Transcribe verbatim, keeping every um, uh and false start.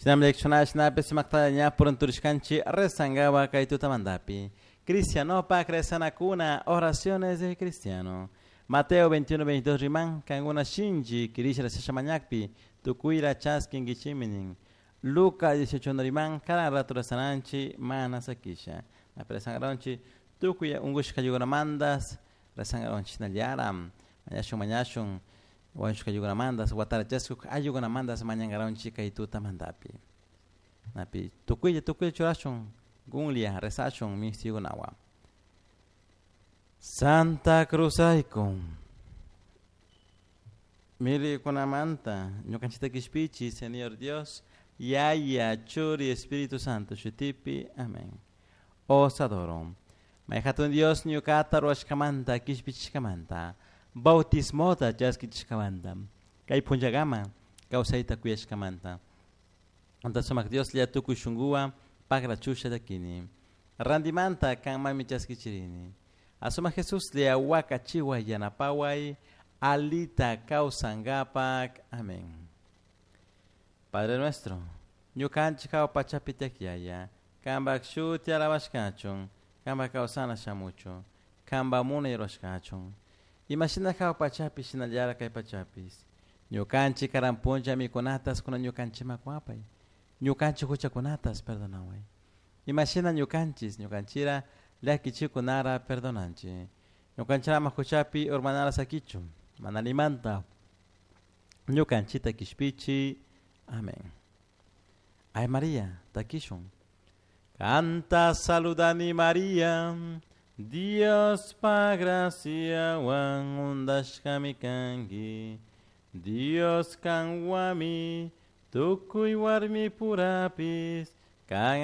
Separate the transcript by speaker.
Speaker 1: Shinami llakishunashnapi sumakta ña purunturishkanchik rezangawa kay tutamantapi. Cristianopak rezanakuna, oraciones de cristiano. Mateo veintiuno veintidós riman, kankuna shinchi kirisha rezasha mañakpi, tukuyra chaskinkichikmi nin. Lucas dieciocho riman, karan rato rezananchik mana sakisha. Napi rezangaronchik tukuy unkushka ayukunamantas rezangaronchik shinallara mañashun mañashun wañushka ayukunamantas watara chaskuk ayukunamantas mañangaronchik kay tutamantapi. Napi tukuylla tukuylla churashun gunlia rezashun mistikunawan. Santa Cruzayku milikunamanta ñukanchikta kishpichi Señor Dios Yaya Churi Espíritu Santo shutipi. Amén. Os adoro. May hatun Dios ñukata ruwashkamanta kishpichishkamanta bautismota chaskichishkamanta kay punllakama kawsayta kuyashkamanta anta sumak Dios lla tukuy shunkuwan pakrachusha llakini randimanta kanmanmi chaskichirini asuma Jesús lla wakachiway yanapaway alita kawsankapak. Amén. Padre nuestro, ñukanchik hawa pachapi tiyak Yaya, kanpak shuti alabashkachun, kanpak kawsana shamuchun, kanpak munay rurashkachun. Imashina hawa pachapi shinallara kay pachapis. Ñukanchik karan punlla mikunatas kuna ñukanchikman kuwapay. Ñukanchik huchakunatas perdonaway. Imashina ñukanchis ñukanchira llakichikunara perdonanchik. Ñukanchirama huchapi urmanara sakichun, mana limanta ñukanchita kishpichi. Amén. Ay María, takishun. Canta saludani María, Dios pa gracia wan undashkami kanki. Dios kanwami, tukuy warmi purapis, kan